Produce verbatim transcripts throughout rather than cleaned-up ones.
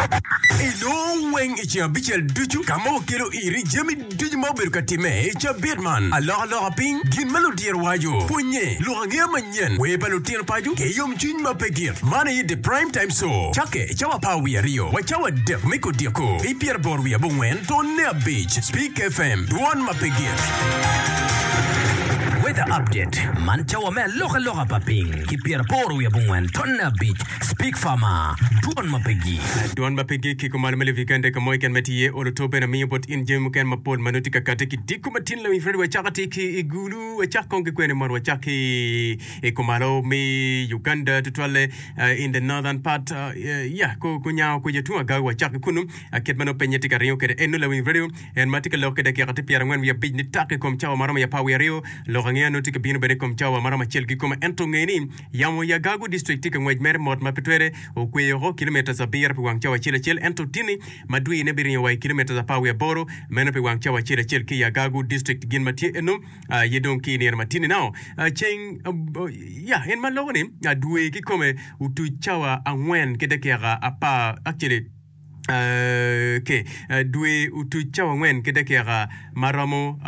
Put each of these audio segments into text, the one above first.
Inongo weng i ceng abicel ducu ka ma wakelo iri jami ducu ma obedo ka timme i cabit man. Alokaloka piny, gin ma ludiro waco, pwonye, lok angeya manyen, wer pa lutino paco ki yomcwiny ma pe gik. Man aye The Prime Time Show. Cakke i cawa apar wiye aryo wa cawa adek me kodiko ki pyeraboro wiye abongwen tonne abic. Speak F M, dwon ma pe gik. Weather update man cawa me alokaloka pa piny ki pyeraboro wiye abongwen tonne abic. Speak Farmer, dwon ma pe gik. Dwon ma pe gik ki kumalo me Levikende ka mo keken ma tye iye olo to bene miyo bot in jami mukene mapol ma nongo tye ka kati ki diko matin. Lawiny Fred, wacako atir ki i Gulu, wacak kong ki kwene mot, wacak ki i kumalo me Uganda, tutwalle in the northern part, ya kunyango kuca tung Agawi, wacak ki kunu kit ma nongo pinye tye ka ringo kwede eno. Lawiny Radio en ma tye ka lok ki dakika tye pyerangwen wiye abic ni tak i kom cawa ma romo i apar wiye aryo. Lok angeya nongo tye ka bino bene i kom cawa ma romo acel kikome, ento nge ni yamo i Agago District tye ka ngwec mere mot ma pe twere okweyo oko kilometres abiro pi wang cawa acel acel, ento tini ma dwine biringo wa i kilometres apar wiye aboro meno pi wang cawa acel acel ki i Agago District. Gin ma tye eno aye dong ki i nino ma tini nao ceng ya en ma loko ni dwe kikome otuc cawa angwen ki dakika apar, actually ke dwe otuc cawa angwen ki dakika ma romo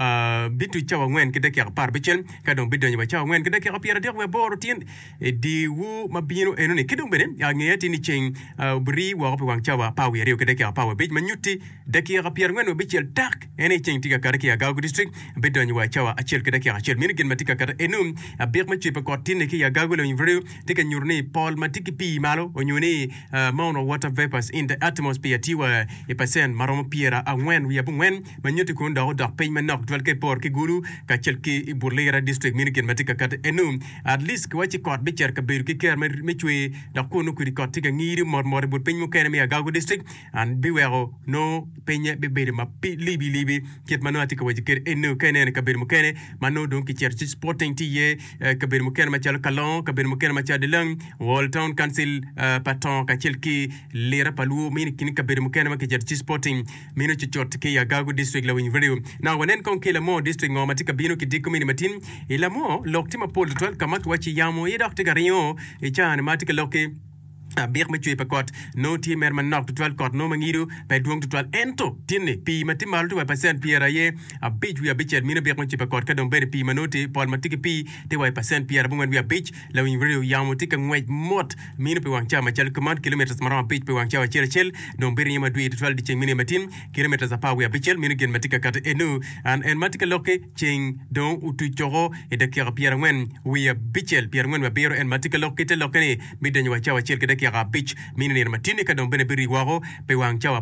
bituc cawa angwen ki dakika apar abicel, ka dong bidonyo wa cawa angwen ki dakika pyeradek wiye aboro tyen i dyewor ma bino enoni. Ki dong bene angeya tye ni ceng obiri woko pi wang cawa apar wiye aryo ki dakika apar wiye abic, ma nyutti dakika pyerangwen wiye abicel tak en aye ceng tye ka kati ki i Agago District bidonyo wa cawa acel ki dakika acel. Meno gin ma tye ka kati eno. Abik me cwer pa kot tinne ki i Agago Lawiny Radio tye ka nyuto ni pol ma tye ki pii malo onyo ni amount of water vapors in the atmosphere tye wa i pacent ma romo pyera angwen wiye abongwen, ma nyutti kun dok odok piny manok tutwal ka iporo ki Gulu kacel ki i but Lira District. Meno gin ma tye ka kati eno. At least kiwacci kot bicito kabedo ki kero me cwer, dok kunu kodi kot tye ka ngiri mot mot i but piny mukene me Agago District and biweko nongo pinye bibedo ma libi libi kit ma nongo atye ka waco kwede eno. Ka ineno i kabedo mukene ma nongo dong kicito ci sporting tye iye, kabedo mukene macalo Kalongo, kabedo mukene macalo Dilang Wall Town Council pa Tongo kacel ki Lira pa Luo mini kin kabedo mukene ma kicito ci sporting mino cucut ki i Agago District. Lawiny Radio now wanen kong ki i Lamor District ngo ma tye ka bino ki diko mini matin. I Lamor lok tye mapol tutwal ka ma kiwaci yamo aye dok tye ka ringo i caa ni ma tye ka lok ki abik me cwer pa kot nongo tye mere manok tutwal, kot nongo ma ngido pe dwong tutwal, ento tinni pii ma tye malo tye wa i pacent pyera aye abic wiye abicel mino abik me cwer pa kot, ka dong bene pii ma nongo tye pol ma tye ki pii tye wa i pacent pyera abongwen wiye abic. Lawiny radio yamo tye ka ngwec mot mino pi wang cawa macalo kuman kilometres ma romo abic pi wang cawa acel acel, dong biringo madwir tutwal dyeceng mine matin kilometres apar wiye abicel. Mino gin ma tye ka kati enu an en ma tye ka lokki. Ceng dong otuc coko i dakika pyerangwen wiye abicel, pyerangwen wiye abiro en ma tye ka lok ki te lokke ni bidonyo wa cawa acel ki dakika abic mino nino matinni, ka dong bene biri woko pi wang cawa.